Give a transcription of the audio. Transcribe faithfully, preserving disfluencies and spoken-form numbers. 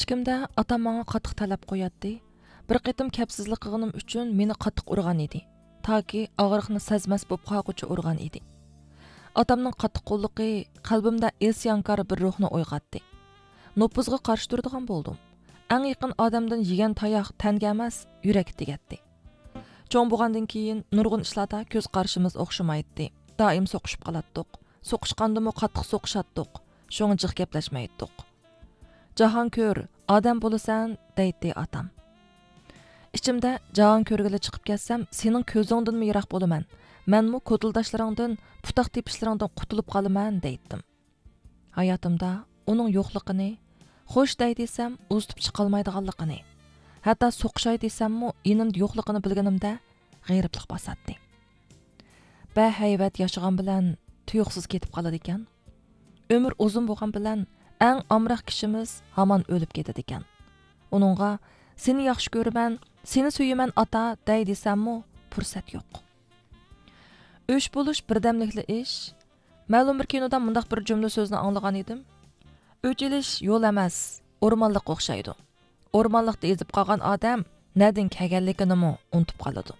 كىچىكلىكىمدە ئاتام ماڭا قاتتىق تەلەپ قوياتتى. بىر قېتىم كەپسىزلىك قىلغىنىم ئۈچۈن مېنى قاتتىق ئۇرغان ئىدى. تاكى ئاغرىقنى سەزمەس بولۇپ قالغۇچە ئۇرغان ئىدى. ئاتامنىڭ قاتتىق قوللۇقى قەلبىمدە ئىسيانكار بىر روھنى ئويغاتتى. نوپۇزغا قارشى تۇرىدىغان بولدۇم. ئەڭ يېقىن ئادەمدىن يېگەن تاياق تەنگە ئەمەس، يۈرەككە تېگەتتى. چوڭ بولغاندىن كېيىن نۇرغۇن ئىشلاردا كۆز قارىشىمىز ئوخشىمايتتى. دائىم سوقۇشۇپ قالاتتۇق. سوقۇشقاندىمۇ قاتتىق سوقۇشاتتۇق. شۇڭا جىق گەپلەشمەيتتۇق. جاھان كۆر، ئادەم بولىسەن، دەيتتى ئاتام. ئىچىمدە، جاھان كۆرگىلى چىقىپ كەتسەم، سېنىڭ كۆزۈڭدىنمۇ يىراق بولىمەن. مەنمۇ كوتۇلداشلىرىڭدىن، پۇتاق تېپىشلىرىڭدىن قۇتۇلۇپ قالىمەن، دەيتتىم. ھاياتىمدا ئۇنىڭ يوقلۇقىنى، خوش دەي دېسەم، ئۇزىتىپ چىقالمايدىغانلىقىنى، ھەتتا سوقۇشاي دېسەممۇ، يېنىمدا يوقلۇقىنى بىلگىنىمدە غېرىبلىق باساتتى. بەھەيۋەت ياشىغان بىلەن تۇيۇقسىز كېتىپ قالىدىكەن. ئۆمۈر ئۇزۇن بولغان بىلەن ئەڭ ئامراق كىشىمىز ھامان ئۆلۈپ كېتىدىكەن. ئۇنىڭغا، سېنى ياخشى كۆرىمەن، سېنى سۆيىمەن ئاتا دەي دېسەممۇ پۇرسەت يوق. ئۆچ بولۇش بىردەملىكلا ئىش. مەلۇم بىر كىنودا مۇنداق بىر جۈملە سۆزنى ئاڭلىغان ئىدىم. ئۆچ ئېلىش يول ئەمەس، ئورمانلىققا ئوخشايدۇ. ئورمانلىقتا ئېزىپ قالغان ئادەم نەدىن كەلگەنلىكىنىمۇ ئۇنتۇپ قالىدۇ.